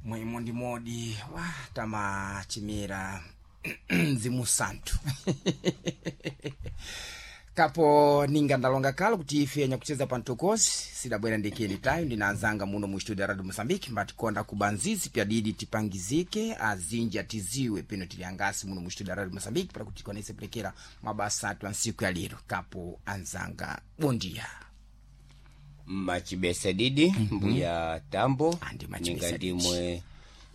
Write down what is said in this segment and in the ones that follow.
Mwimo ndi modi wa tamachimira mzimu santu kapo ninga ndalonga kalo kuti ife anyakucheza pantokosi sidabwera ndekeni tayo ndinanzanga muno mu studio ya radio Mosambiki mbatikonda kubanzizi pyadidi tipangizike azinji atiziwe peno tili angasi muno mu studio ya radio Mosambiki para kuti tikwanise pelekera mabasa atu ansiku ya lero. Kapo anzanga bondia. Machibesa didi. Mbuya tambo. Andi machibesa ninga didi. Ndimwe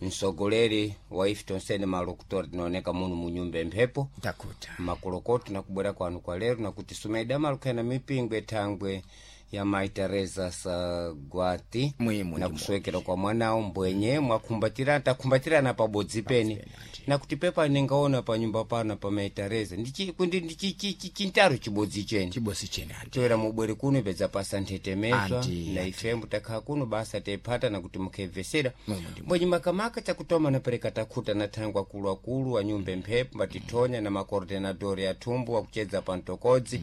msogoleri wa ife tonsene malokutori tinaoneka muno munyumba emphepo. Takuta. Makolokoto nakubwera kwanu kwa lero nakuti sumaida malukhena mipingo ethangwe ya Mai Teresa Sagwati. Mwimo na ndimo. Kuswekera kwa mwanawo mbwenye mwakhumbatirana takhumbatirana pabodzi pene nakuti pepa ningaona panyumba pano pa Mai Teresa ndichintaro chibodzi chene. Chibosi chene andi. Toera mubwere kuno ipedza pasa nthetemezwa. Anti, na ife mutakhala kuno basa tephata nakuti mukhebvesera. Mwimo ndimo. Mbwenye makamaka chakutoma napereka takhuta na thangwe akuluakulu wa nyumba emphepo mbatithonya na makoordinadori athumbu akuchedza pa mtokodzi,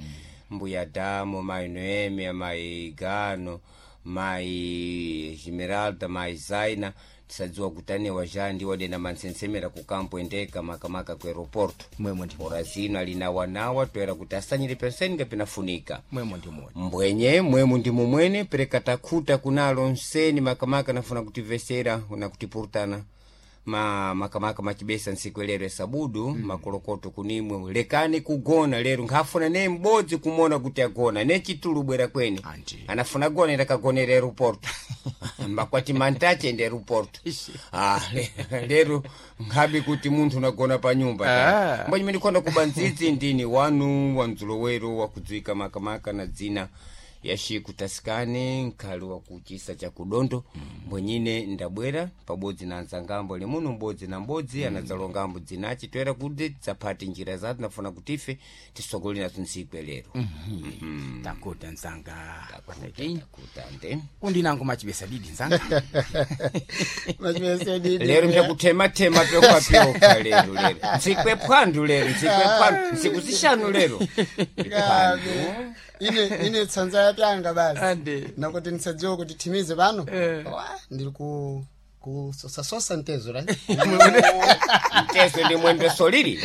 mbuya Damo, mai Noemi, mai Gano, mai Esmeralda, mai Zaina, tisadziwa kutaniwa ja ndiwo dena mansensemera ku kampo endeka makamaka ku aeroporto. Mwimo ndimo. Ora zino alina wanawa toera kuti asanyire penseni ngapinafunika. Mwimo ndimo. Mbwenye mwemu ndi mumwene pereka takhuta kunalo nseni makamaka nafuna kutivesera na kutipurutana ma makamaka machibesa ntsiku lero esabudu. Makolokoto kunimwe lekani kugona lero nkhafuna ne m'bodzi kumona kuti agona ne chitulu bwera kwene. Anti. Anafuna gona ndakagonera aeroporto mbakwati mantache ndi aeroporto. Ah, lero nkhabe kuti munthu unagona pa nyumba. Ah. Mbwenye ndikonda kuba ndzidzi ndini wanu wandzulowero wakudziwika makamaka na dzina ya Shiku Tasikane nkhali wakuchisa cha kudondo. Mbwenyine ndabwera pabodzi na anzangambo limuno mbodzi na mbodzi anadzalongambo dzinachi toera kuti dzaphati njira zathu nafuna kuti ife tisogolere nazo ntsiku lero. Takuta nzanga. Takuta nde. Undinango machibesa didi nzanga. Machibesa didi. Lero mchakuthemathema pyokapyoka lero lero ntsiku ephwandu lero ntsiku ephwandu ntsiku zishanu lero. Kabe. Ine tsanza yapyanga basi. Andi. Nakuti ndisadziwe kuti timize pano. Wa, ndiri ku kusosasosa ntezo right. Mtezo ndi mwembe solili.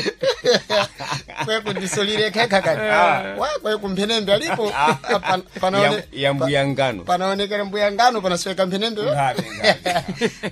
Kweku ndisolire khekha kati wa kweku mphenembe alipo. Ya mbuya ngano. Panaonekera mbuya ngano panasweka mphenembe. Ngabe, ngabe.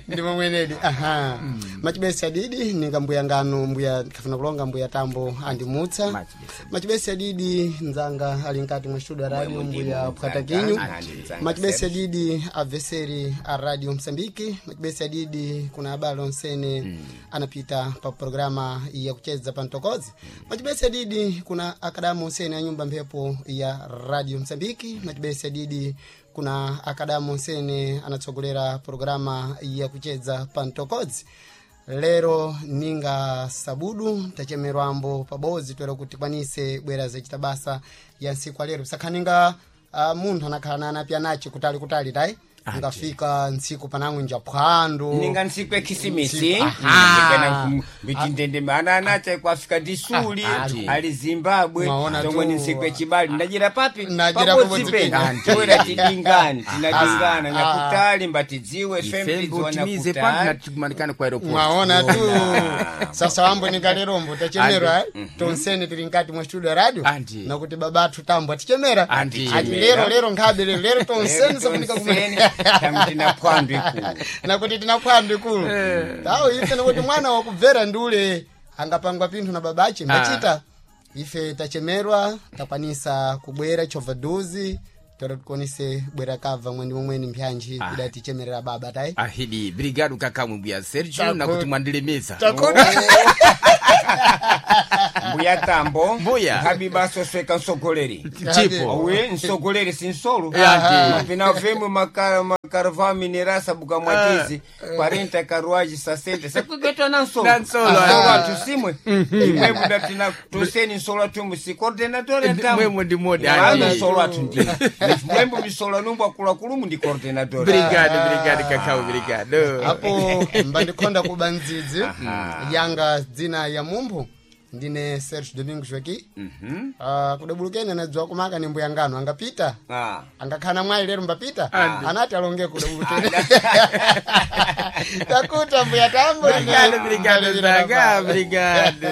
Ndimo mwenedi aha. Machibesi adidi ninga mbuya ngano mbuya kafuna kulonga mbuya tambo andimutsa. Machibesi. Machibesi adidi nzanga ali nkati mwa studio ya radio. Mwemo ndimo Mbuya nzanga, Pwatakinyu. andi nzanga. Machibesi adidi aveseri a radio Msambiki. Machibesi adidi kuna abale onsene anapita pa programa ya kucheza pa mtokozi. Machibesi adidi kuna akadamu onsene a nyumba mphepo ya radio Msambiki. Machibesi adidi kuna akadamu onsene anatsogolera programa ya kucheza pa mtokozi. Lero ninga sabudu tachemerwambo pabodzi toera kuti tikwanise bwera zacita basa ya ntsiku alero sakhaninga munthu anakhala na anapya nace kutali kutali tayi ngafika ntsiku panang'winja phwando. Ninga ntsiku ekhisimisi. Aha. Mbitindende ana anacha kwafika ndisuli ali Zimbabwe. Mwaona zomwe tu. ni ntsiku echibali ndajira papi. Ndajira pabodzi pabodzi pene. pene. Toera tidingani tinadingana nyakutali mbatidziwe Ifembe fembidziwa utimize pano nyakutali. natikumanikane kwa aeroport. Mwaona tu sasa wambo ningalerombo tachemerwa eh? Tonsene tili nkati mwa studio ya radio. Andi. Nakuti babatu tambo atichemera. Andi. Ati lero lero nkhabe lero lero tonsene safunika Tonsene, tamu tina phwandu ikulu. Nakuti tina phwandu ikulu tawo ife nakuti mwana wakubvera ndule angapangwa pinthu na babache mbachita ife tachemerwa takwanisa kubwera chovha duzi tora tikonise bwera kabva mwendi momweni mpyanji idatichemerera baba tayi. Ahidi brigado kakamwe mbuya Sergio. Nakuti mwandilemeza. Mbuya tambo. Mbuya. Nkhabi basosweka msogoleri. Tipo. Uye msogoleri sinsolo. Andi. Mapina vemwe makaravão minerasa buka mwatizi 40 carruagem 60 sekugetwa na nsolo. Na nsolo, nsolo ah. atusimwe imwe budatina toseni nsolo atumbu si coordenador ya Mwemo ndi modi, Ano andi. nsolo atu ndi mwembo misolo numbu akulakulumu ndi coordenador. Brigado brigado kakao brigado. Apo mbandikhonda kuba ndzidzi yanga dzina ya mumphu. Ndine Serge Domingos Joaqui. Kudabulukeni anadziwa kumaka ni mbuya ngano angapita. Angakhana mwayi lero mbapita. Anati alonge kudabulukeni. Takuta mbuya Tambo. Obrigado, obrigado, Zaga, obrigado.